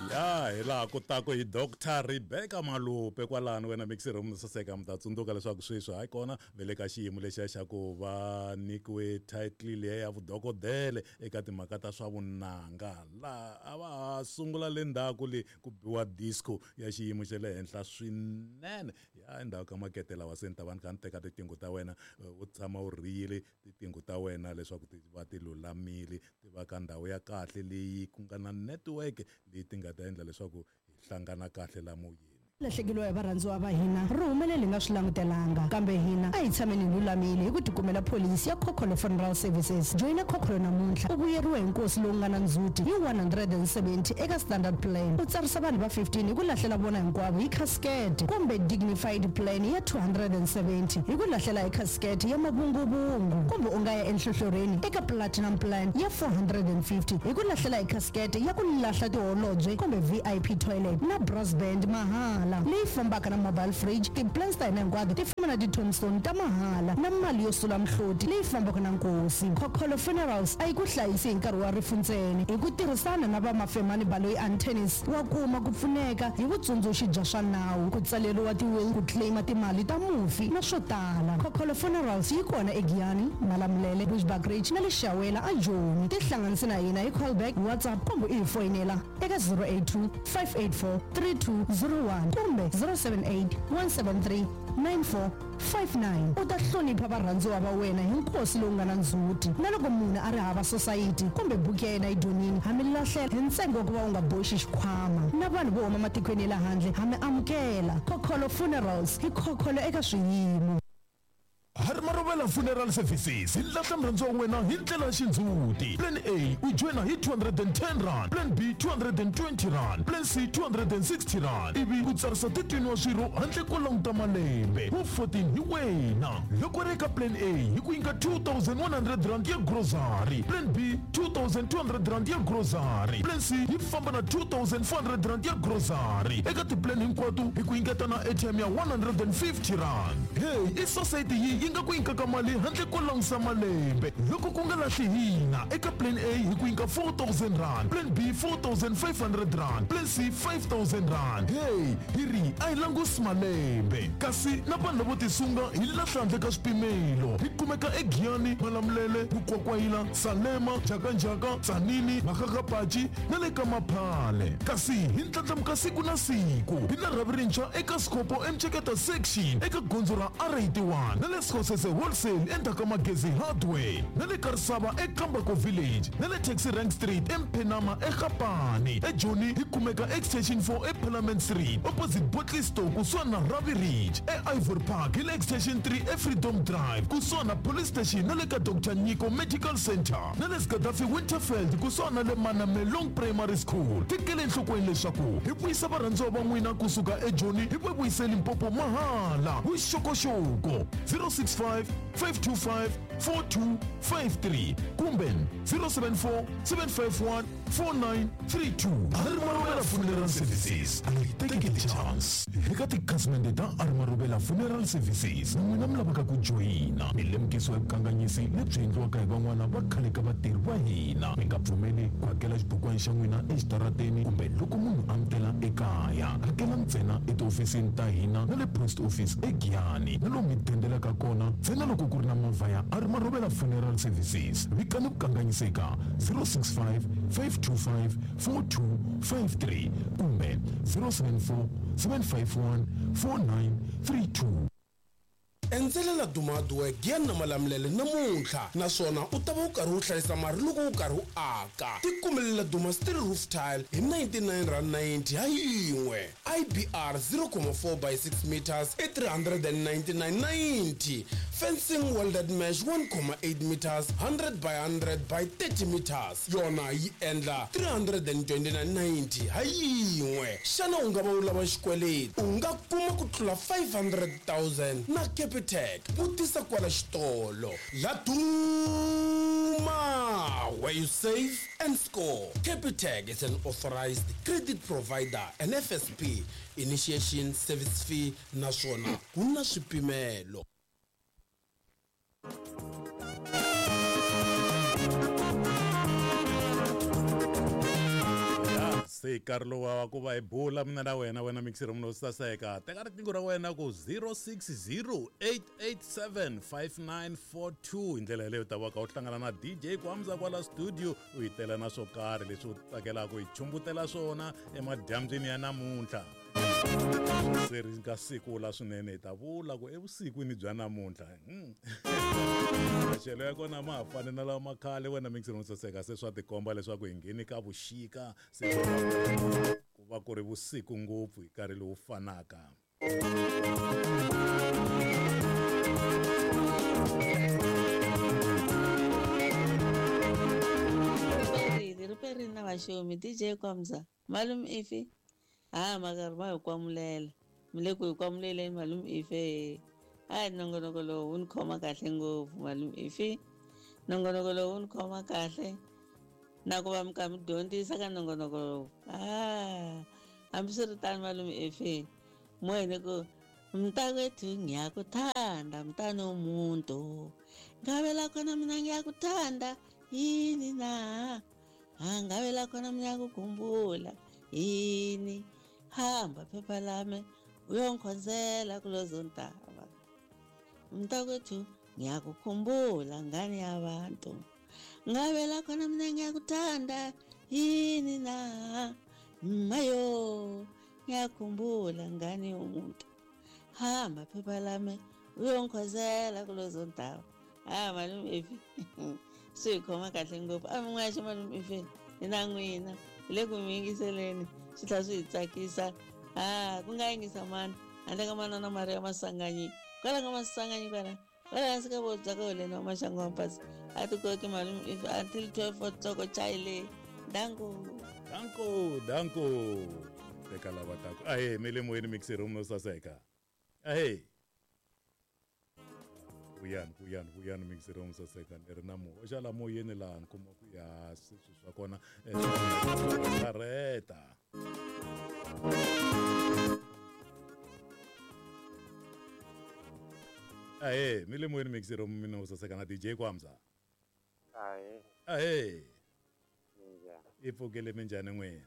Ya hi laha ku taku hi Dr Rebecca Malupe kwalano wena mixi room saseka mi ta tsundzuka leswaku sweswi hayi kona ve le ka xiyimo lexiya xa ku va nyikiwe title liya ya vudokodele eka timhaka ta swa vunanga laha a va ha sungula le ndzhaku le ku biwa disco ya xiyimo xa le henhla swinene ya endzhaku ka makete lawa se ni ta va ni kha ni teka tiqingho ta wena u tshama u rhiyile tiqingho ta wena leswaku ti va ti lulamile ti va ka ndhawu ya kahle leyi ku nga na network leyi ti nga ta endla leswaku hi hlangana kahle la moyeni. Lahlekeriwa hi varhandziwa va hina ri humelele hi nga swi langutelanga. Kambe hina a hi tshameni hi lulamile hi ku tikumela pholisi ya Khokholo Funeral Services. Joyina Khokholo namuntlha u vuyeriwe hi nkosi lowu nga na ndzhuti hi 170 eka Standard Plan, u tsarisa vanhu va 15 hi ku lahlela vona hinkwavo hi khasikete, kumbe Dignified Plan ya 270 hi ku lahlela hi khasikete ya mavunguvungu, kumbe u nga ya enhlohlorhini eka Platinum Plan ya 450 hi ku lahlela hi khasikete ya ku lahla tiholobye kumbe VIP toilet na brass band mahala leyi fambaka na mobile fridge. Ti-plans ta hina hinkwato ti famba na ti-tombstone ta mahala na mali yo sula mihloti leyi fambaka na nkosi. Khokholo Funerals a yi ku hlayisi hi nkarhi wa rifu ntsena. Hi ku tirhisana na va Mafemani Baloyi Attorneys, wa kuma ku pfuneka hi vutsundzuxi bya swa nawu, ku tsaleriwa ti-will, ku claim-a timali ta mufi na swo tala. Khokholo Funerals yi kona eGiyani, Malamulele, Bushbuckridge na le Shawela aJoni. Tihlanganise na hina hi callback, WhatsApp kumbe u hi foyinela eka 082 584 3201 kumbe 078 173 9459. U ta hlonipha varhandziwa va wena hi nkosi lowu nga na ndzhuti. Na loko munhu a ri hava sosayiti kumbe buku ya yena yi dyonile, ha mi lahlela hi ntsengo wa ku va u nga boxi xikhwama. Na vanhu vo huma matikweni ya le handle ha mi amukela. Khokholo Funerals, hi khokholo eka swiyimo. Harmarovela Funeral Services hi lahla murhandziwa wa wena hi ndlela ya xindzhuti. Plan A u joyina hi R210, Plan B R220, Plan C R260 ivi u tsarisa 13 wa swirho handle ko languta malembe. Wu 14 hi wena. Loko ri eka Plan A hi ku nyika R2100 ya grocery, Plan B R2200 ya grocery, Plan C yi famba na R2400 ya grocery. Eka ti-plan hinkwato hi ku nyiketa na airtime ya R150. Hey, i sosayiti yi yi nga ku nyikaka mali handle ko langusa malembe. Loko ku nga lahli hina, eka Plan A hi ku nyika R4000, Plan B R4500, Plan C R5000. Hey, hi ri a hi langusi malembe. Kasi na vanhu lavo tisunga hi lahla handle ka swipimelo. Hi kumeka eGiyani, Malamulele, Mukwakwayila, Salema, Njhakanjhaka, Tzaneen, Makgakgapachi na le ka Maphale. Kasi hi ndlandlamuka siku na siku. Hi na rhavi rintshwa eka Skhopho eMceketa Section eka gondzo ra R81 na le Skhosese Wholesale endzhaku ka Magezi Hardware na le Karisava eKambako Village na le Taxi Rank Street eMphenama eGapane. EJoni hi kumeka Extension 4 eParliament Street opposite Bottle Store kusuhani na Ravi Ridge. EIvory Park hi le Extension 3 eFreedom Drive kusuhani na Police Station na le ka Doctor Nyiko Medical Centre na le Gaddafi Winterveld kusuhani na le Manamelong Primary School. Tekela enhlokweni leswaku hi vuyisa varhandziwa va n'wina kusuka eJoni hi va vuyise Limpopo mahala. Vuxokoxoko 065 525 4253 kumbe 074 751 4932. Armarubela Funeral Services a yi teki ti-chance. Eka tikhasimende ta Armarubela Funeral Services na n'wina mi lavaka ku joyina, mi lemukisiwa hi vukanganyisi lebyi endliwaka hi van'wana va khale ka vatirhi va hina. Mi nga pfumeli ku hakela xibukwana xa n'wina exitarateni kumbe loko munhu a mi tela ekaya. Hakela ntsena etihofisini ta hina na le post office eGiyani na lomu mi dendelaka kona ntsena loko ku ri na movha ya Armarubela Funeral Services. Vikani vukanganyisi eka 065 525 4253 kumbe 074 751 4932. Endzela Laduma Hardware Giyani na Malamulele namuntlha naswona u ta va u karhi u hlayisa mari loko u karhi u aka. Tikumele Laduma Steel Roof Tile hi R99.90 ha yin'we. IBR 0.4 by 6 meters i R399.90. Fencing welded mesh 1.8 meters 100 by 100 by 30 meters yona yi endla R329.90 ha yin'we. Xana u nga va u lava xikweleti? U nga kuma ku tlula 500,000 na Capitec. Vutisa kwala xitolo. Laduma, where you save and score. Capitec is an authorized credit provider and FSP initiation service fee naswona ku na swipimelo. Se nkarhi lowu wa ku va hi bula mina na wena, wena mixer munhu wo saseka. Teka riqingho ra wena ku 0608875942. Hi ndlela yaleyo u ta va ka u hlangana na DJ Kwamza kwala studio, u yi tela na swo karhi leswi u tsakelaka hi chumbutela swona emadyambyini ya namuntlha. Se ri nga siku la swinene, hi ta vula ku evusikwini bya namuntlha. Maxelo ya kona ma ha fani na lawa ma khale, wena mixer munhu saseka. Se swa tikomba leswaku hi ngheni ka vuxika, se ku va ku ri vusiku ngopfu hi nkarhi lowu fanaka. Ri perile na vaxomi. DJ Kwamza, malume ifi ha makarhi ma hi kwamulela, mi le ku hi kwamuleleni malume ife. Hayi, nongonoko lowu wu ni khoma kahle ngopfu malume ifi, nongonoko lowu wu ni khoma kahle na ku va mi kha mi dyondzisa ka nongonoko lowu. Hambiswiritano malume ifi, moyeni ku mntakwethu ngiyakuthanda mntanomuntu, ngabe la khona mina ngiyakuthanda yini na, ngabe la khona mina ngiyakukhumbula yini, hamba phepha lami uyongikhonzela kulezo ntaba, mntakwethu ngiyakukhumbula ngane yabantu, ngabe la khona mina ngiyakuthanda yini na, mayo ngiyakhumbula ngane yomuntu, hamba phepha lami uyongikhonzela kulezo ntaba. Malume ifi swi hi khoma kahle ngopfu. A mi n'waxi malume ifi, hi na n'wina hi le ku mi yingiseleni, swi tlhela swi hi tsakisa. Ku nga yingisa mani handle ka manana Maria Masanganyi, kwala ka Masanganyi kwala kwala hansi ka vobya ka holeni wa maxangu wa mpasi. A ti koki malume ifi until 12 o'clock chayile. Danko danko danko. Teka lava taku. Ahe, mi le moyeni mixer room no saseka. Ahe, vuyani vuyani vuyani mixer room saseka. Ni ri na muhoxa la moyeni laha ni kuma ku ya sweswi swa kona kareta. Ahe, mi le moyeni mixer room mina u saseka na DJ Kwamza. Ahe. Ahe. Minjhani? I pfukile minjhani n'wina?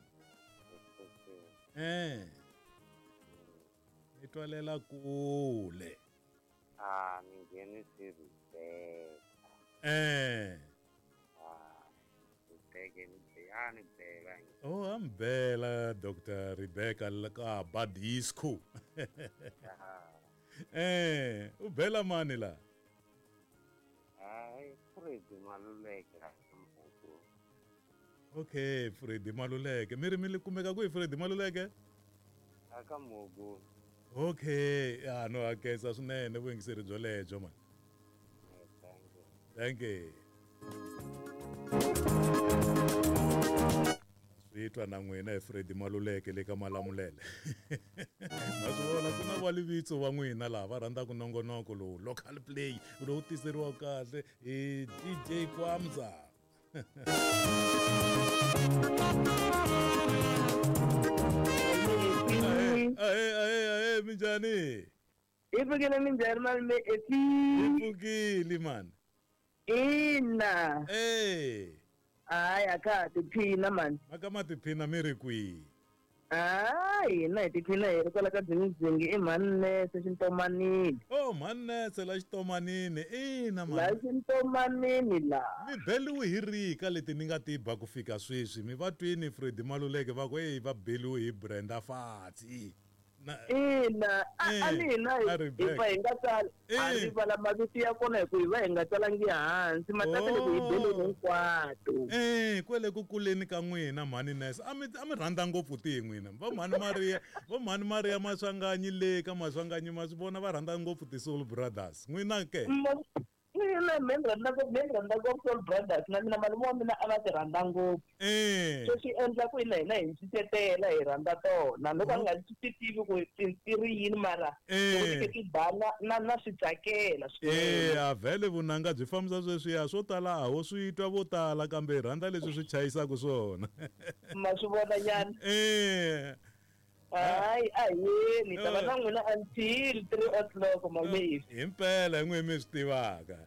Ni twalela kule. Ni nghenise Rebecca. Rebecca ni bela. Oh, a mi bela Dr. Rebecca ka Badisco. U bela mani la? Hayi, Freddy Maluleke. Okay, Freddy Maluleke. Mi ri mi kumeka kwihi Freddy Maluleke? Aka Mugu. Okay, no hakesa swinene vuyingiseri byo lebyo man. Thank you. Thank you. Swi twa na n'wina hi Freddy Maluleke le ka Malamulele. Ma swi vona ku na valivitso va n'wina laha va rhandzaka nongonoko lowu local play lowu tiseriwaka kahle hi DJ Kwamza. Ahe ahe ahe, minjhani? Hi pfukile minjhani malume efi? Hi pfukile man. Ina. Hayi, a ka ha tiphina mani. Maka ma tiphina mi ri kwihi? Hina hi tiphina hi ri kwala ka Dzingidzingi i Mhaninese xintomanini. Oh, Mhaninese la xitomanini. Ina La xintomanini la. Mi beliwe hi rika leti ni nga ti ba ku fika sweswi. Mi va twini Freddy Maluleke va ku hey va beliwe hi Brenda Fatsi. Ina, a ni hina hi va hi nga tsala. A ri vala mavito ya kona hi ku hi va hi nga tsalangi hansi. Matata loko hi beleni hinkwato. Kwele ku kuleni ka n'wina Mhaninese a mi rhandza ngopfu tihi n'wina. Va Mhani Maria, va Mhani Maria Maswanganyi le ka Maswanganyi ma swi vona va rhandza ngopfu ti Soul Brothers. N'wina ke? Mina ni rhandza ngopfu Soul Brothers na mina malume wa mina a va ti rhandza ngopfu. So swi endla ku hina hina hi ncisetela hi rhandza tona. Loko a nga swi tivi ku ti ri yini mara loko ti ba na swi tsakela swinene. A vhele vunanga byi fambisa sweswiya swo tala a ho swi twa vo tala kambe hi rhandza leswi swi chayisaka swona. Ma swi vona nyana. Hayi, aheni ta va na n'wina until 3 o'clock malume. Himpela hi n'wina mi swi tivaka.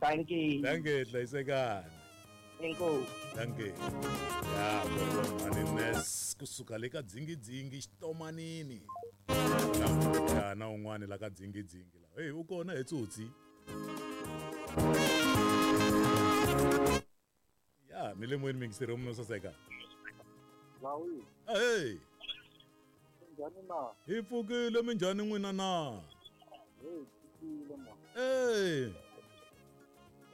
Dankie. Dankie, hlayisekani. Inkosi. Dankie. Ya, ku ri va Mhaninese. Kusuka le ka dzingidzingi xitomanini. Ya na un'wani la ka dzingidzingi la. Hey, u kona he tsotsi. Ya, mi le moyeni mingiseri munhu saseka. Lawi. Hey. Njhani na? Hi pfukile minjhani n'wina na? Hey, pfukile ma. Hey.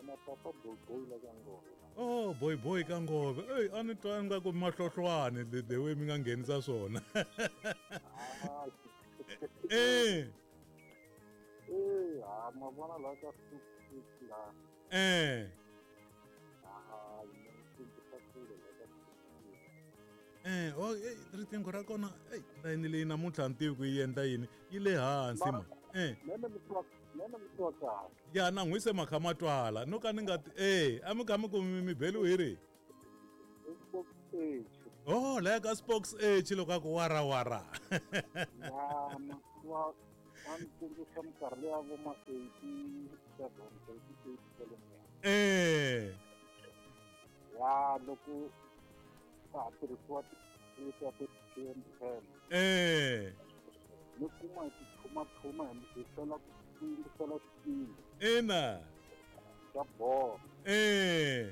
Na papa boy boy la ka ngove. Oh, boy boy ka ngove. Hey, a ni twa nga ku mahlohlwane the way mi nga nghenisa swona. Eh. Eh, ha ma vona la ka la. Eh. Ah, Eh, oh, eh, riqingho ra kona, eh, layini leyi namuntlha ni tivi ku yi endla yini, yi le hansi ma. Eh. Mene mi twa kahle. Ya na n'wi se makha ma twala, no ka ni nga eh, a mi kha mi ku mi beliwe hi ri. Oh, la ka Spokes H loko a ku wara wara. Ya, ma wa ni tsundzuxa minkarhi leya vo ma 87 88 kwalomuya. Eh. Ya loko ka ha tirhisiwa ti-letiya ti-ten. Eh. Ni kuma hi tiphumaphuma hi hlwela ku yingisela xipini. Ina. Xa bolo. Eh.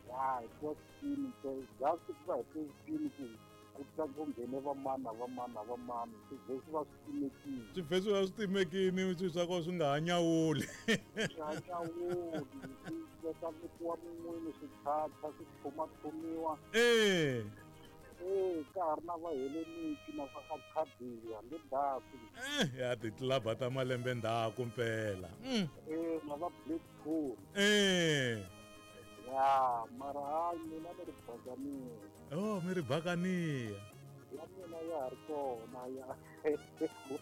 Ya hi twa xipini just ku va hi twe xipini ku ku tla ku nghene vamani na vamani na vamani swi vhe swi va swi timekile. Swi vhe swi va swi timekile swilo swa kona swi nga ha nyawuli. Swi ha nyawuli swi veka vekiwa mun'wini swi thatha swi phumaphuniwa. Eh. Eh, ka ha ri na va Heleniki na va Arcadia le ndzhaku. Eh, ya titlilaba ta malembe ndzhaku mpela. Eh, na va Blackpool. Eh. Ya, mara hayi mina ni ri Bakaniya. Oh, mi ri Bakaniya. Ya mina ya ha ri kona ya.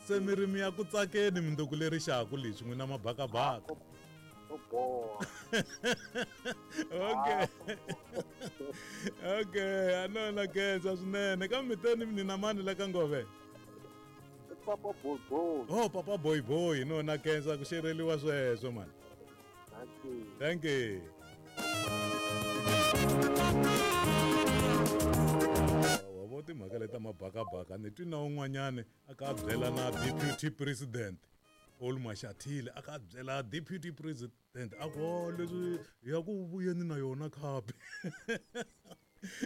Se mi ri mi ya ku tsakeni minduku leri xaku leswi n'wina mabakabaka. Okay. Okay, a no na khensa swinene. Kambe mi teni ni na mani la ka ngove? Papa boy boy. Oh, papa boy boy, no na khensa ku xereliwa sweswo man. Thank you. Thank you. Wa vo timhaka leta mabakabaka ni twi na un'wanyani a ka byela na deputy president Paul Mashatile a ka byela deputy president a ku oh, leswi ya ku vuyeni na yona khapi.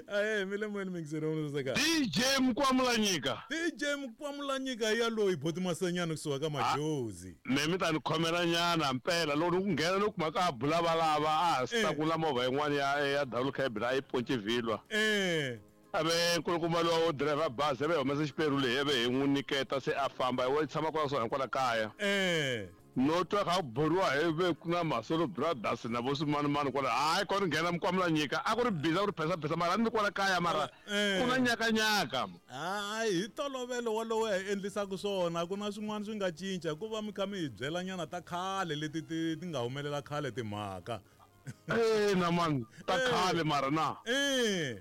Ahe mi le moyeni mingiseri wa saseka. DJ Mkwamulanyika. DJ Mkwamulanyika ya loyi boti Masenyana kusuka ka Majozi. Me mi ta ni khomela nyana mpela loko ni ku nghena ni kuma ka bula valava a ha swi ta movha yin'wana ya double cab la yi ponce vhilwa. Eh. Ave nkulukumba lowa wo driver bazi ave humesa xiperu leyi ave hi n'wi nyiketa se a famba wa tshama kwala swona kwala kaya. Eh. No twa kha ku buriwa hi ve ku na Masolo Brothers na vo swimanimani kwala hayi kona nghena Mkwamulanyika a ku ri busy a ku ri phesa mara a ni kwala kaya mara ku na nyakanyaka. Hayi hi ntolovelo walowo hi endlisaka swona ku na swin'wana swi nga cinca ku va mi kha mi hi byela nyana ta khale leti ti ti nga humelela khale timhaka. Eh na man ta khale mara na. Eh.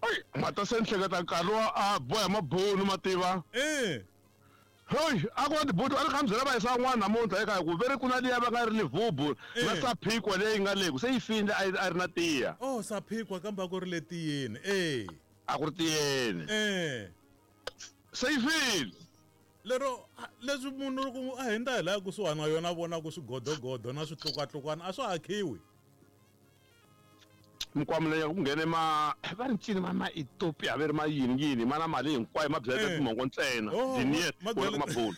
Ai mata se ni hleketa nkarhi wa a boha mabunu mativa. Eh. Hey, a ku na tibuti a ni kha mi byela va yisa n'wana namuntlha eka ku ve ri ku na liya va nga ri livubu na saphikwa leyi nga le ku se yi file a ri na tiya. Oh, saphikwa kambe a ku ri le tiyeni. Eh. A ku ri tiyeni. Eh. Se yi file. Lero leswi munhu loko a hundza hi laha kusuhani na yona a vona ku swigodogodo na switlukatlukwana a swa ha khiwi. Mkwamulanyika ku nghene ma va ri ncini ma ma Ethiopia va ri ma yini yini ma na mali hinkwayo ma byaleta timongo ntsena diniet ma mabulu.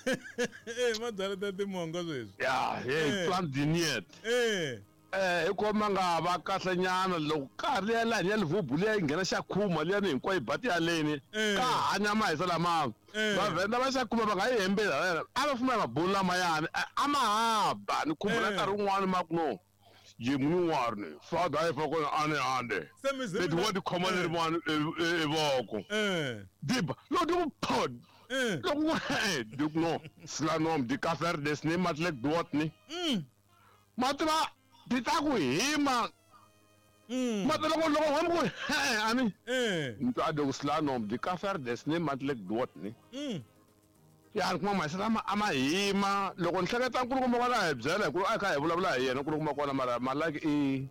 Eh ma byaleta timongo sweswi. Ya, hey plan diniet. Eh. Eh hikuva ma nga va kahle nyana loko ka ri ya laha ya livubu liya yi nghena xa khuma liya ni hinkwayo bati ya leni ka hanya mahisa lama vavhenda va xa khuma va nga yi hembela a va fuma mabulu lamayani a ma haba ni khumbula nkarhi wun'wani ma ku no Jimnuarni, father if I go ane ande. It what the common one evoko. Dib, no do pod. Look do no slanom di kafer des ne matlek duotni. Matra ditaku hima. Matra go logo hom ani. Nto do slanom di kafer des ne matlek duotni. Ya kuma masala ama hima loko ni hleketa nkulukumba kwala hi byela hi ku a kha hi vulavula hi yena nkulukumba kona mara malaki i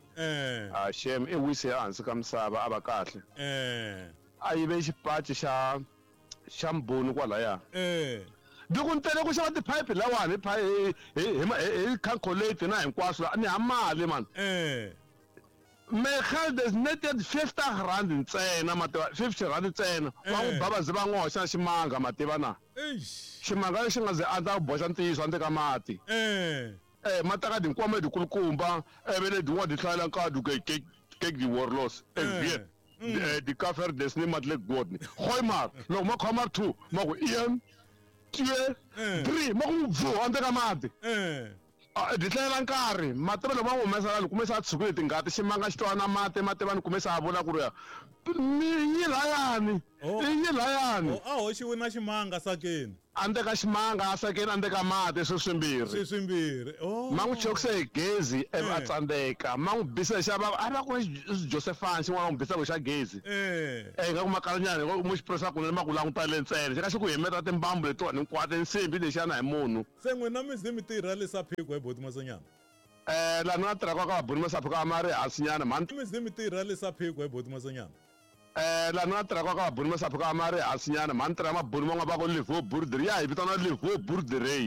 a shem i wise ehansi ka misava a va kahle. A yive xipaci xa xa mbhoni kwalaya. Loko ni tele ku xava tiphayiphi lawani hi hi hi hi calculate na hinkwaswo la ni ha mali mani. Mijn geld is net net 50 rand ntsena ma tiva 50 rand ntsena va n'wi ba va ze va n'wi hoxa na ximanga ma tiva na ximanga lexi nga ze a ta boxa ntiyiso handle ka mati eh ma taka tinkwama letikulukumba ivi letin'wana ti hlayela nkadu ke ke ke di warlords ek weet die kaffer dis nie maklik word nie. Gooi maar loko ma khoma 2 ma ku 1 2 3 ma ku bvu handle ka mati. Byi hlayela nkarhi mativa loko va n'wi humesa la ni kume se a tshukile tingati ximanga xi twa na mati mativa ni kume se a vula ku ri yi layani yi layani. A hoxiwe na ximanga sakeni. A ndzi ka ximanga a sakeni a ndzi ka mati swi swimbirhi. Swi swimbirhi. Oh. Ma n'wi chokise hi gezi ivi a tsandzeka. Ma n'wi bisa hi xa va a va ku Josefani xin'wana va n'wi bisa xa gezi. Eh nga ku makalanyana hi mu xi pressa kunene ma ku languta le ntsena xi ka xi ku himeta timbambu letiwani hinkwato nsimbi lexiyana hi munhu. Se n'wina mi ze mi tirha le Saphiko he boti Masonyana? Eh laha ni nga tirha ka ka vabuni va Saphiko a ma ri hansi nyana mhani. Mi ze mi tirha le Saphiko he boti Masonyana? Eh laha ni nga tirha ka ka vabuni va Saphiko a ma ri hansi nyana mhani tirha mabuni van'wana va ku Levo Boerdery ya hi vitana Levo Boerdery.